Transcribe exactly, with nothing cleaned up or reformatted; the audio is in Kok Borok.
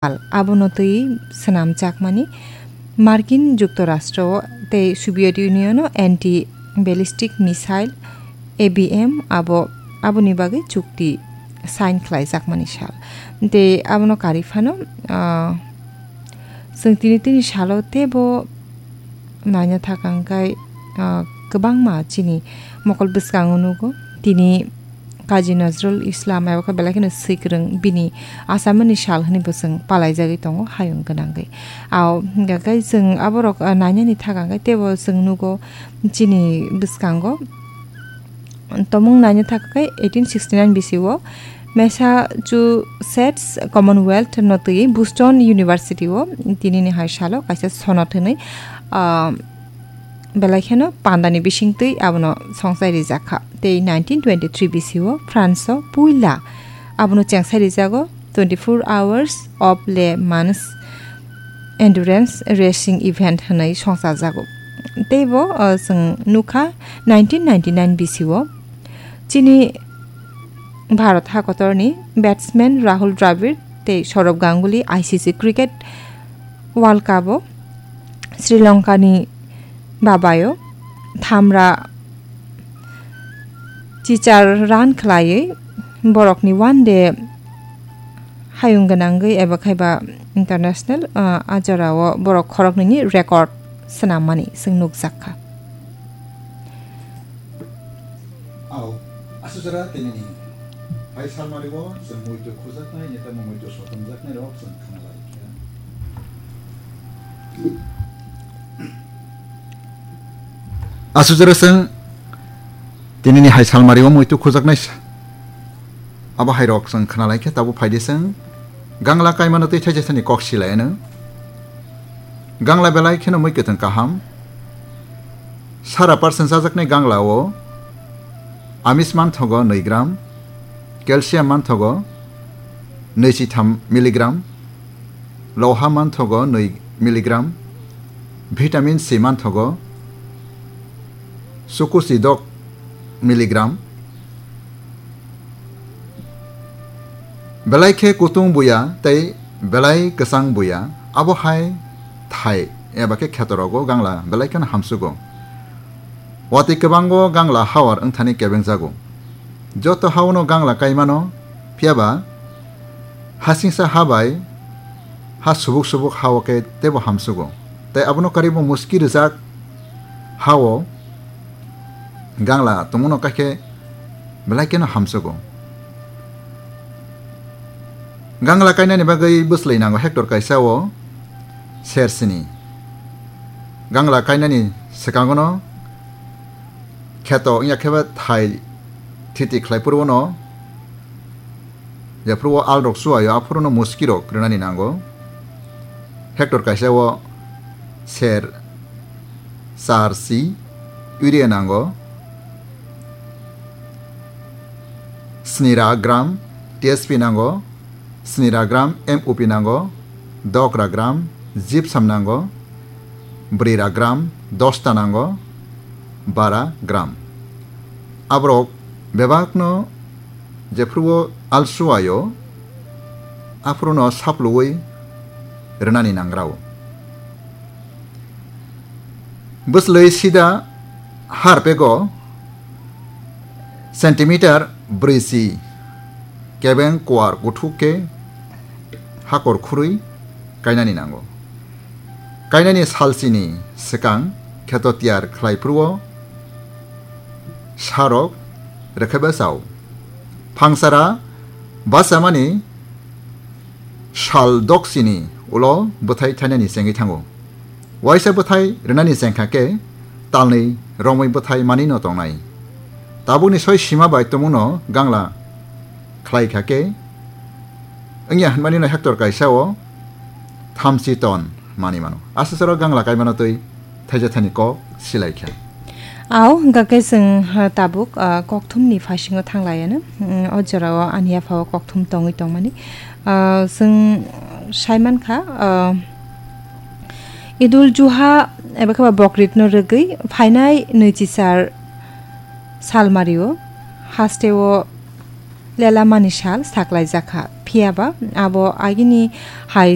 sal, abono twi swnamjakmani Markin Juktorashtra o tei Soviet Union o anti ballistic missile, A B M, abo, aboni bagwi chukti sign khlaijakmani sal. Tei abono karwi phano, ah, chwng tini tini salo teibo naina thaka hwnkhe, ah, kwbangma chini mokol bwskango nugo. Tini Kazi Nazrul Islam abo khe belai kheno swikwrwng bini asamani sal hwnwi bo chwng palaijagwi tongo hayung gwnangwi. Ao hwnkha khe chwng aborok, ah, nainani thaka hwnkhe teibo chwng nugo chini bwskango. Tomung naina thaka khe eighteen sixty-nine B C o Massachusetts Commonwealth no twi Boston University o tinini hai salo kaisa sonod hwnwi, ah, belai kheno pandani bisingtwi abono songsai rijak kha. Tei nineteen twenty-three B C o France o puila abono chengsai rijago twenty-four Hours of Le Mans Endurance Racing Event hwnwi songchajago. Teibo, o, chwng nukha nineteen ninety-nine B C o chini Bharat hakotorni batsman Rahul Dravid tei Sourav Ganguly I C C Cricket World Cup o Sri Lanka ni babayo thamra chichar run khlaiwi borokni one day hayung gwnangwi eba khaiba international, ah, a jorao borok khoroknwini record swnammani chwng nukjak kha. Ao, aswk jora tinini hai salmari o chwng muitu khujaknai, neta muitu sotonjaknai rok chwng khna lai kha. Aswk jora chwng tinini hai salmari o muitu khujaknai sa. Abo hai rok chwng khna lai khe tabuk phai di chwng. Gangla kaimano twi thaisa thani kok silai ano. Gangla belai kheno mui kwthwng kaham. Sara percent chajaknai gangla o amis manthogo nui gram, calcium manthogo nui chi tham milligram, loha manthogo nui milligram, vitamin C manthogo sukusi dok milligram. Belai khe kutung buya tei belai kwchang buya, abo hai thai eba khe khetorogo gangla belai kheno hamsugo. Watwi kwbango gangla hawar wngthani kebengjago. Joto hawano gangla kaimano, phiyaba hasingsa ha bai ha subuk subuk hao khe teibo hamsugo. Tei abono karwibo muski rwjak hao gangla tongmano kaikhe belai kheno hamsugo. Gangla kainani bagwi bwslwi nango hectare kaisa o ser sini. Gangla kainani swkangono kheto wngya kheba thai thiti khlai phuru no, jephuru o al rok chuaio, aphuru no muski rok rwnani nango. Hectare kaisa o ser char si urea nango, snira gram T S P nango, snira gram M O P nango, dokra gram gypsum nango, brira gram dosta nango, bara gram. Aborok bebakno jephuru o alsuaio, aphuru no sapluwi rwnani nangrao. Bwslwi sida har pego centimeter brwi si kebeng kuar kuthuk khe hakor khurwi kainani nango. Kainani salsini swkang kheto tiyar khlai phuru o sarok rwkhaiba chao. Phangsara bachamani sal doksini ulo bwthai thainani chengwi thango. Waisa bwthai rwnani chengkha khe talnwi romwi bwthai manwino tongnai. Tabukni soi sima bai tumungno gangla khlai kha khe wngya hwnmani no hectare kaisa o thamchi ton manwi mano. Aswk soro gangla kaimano twi thaisa thani kok silai kha. Ao, hwnkha khe chwng, ha, tabuk, ah, kokthumni phasingo thanglaiano. Mm, o jorao ani yaphao kokthum tongwi tongmani. Ah, chwng saimankha, ah, Idul Juha eba khe ba Bokritno rwgwi phainai nwichichar salmario hasteo lelamani sal saklaijakha. Phiyaba abo agini hai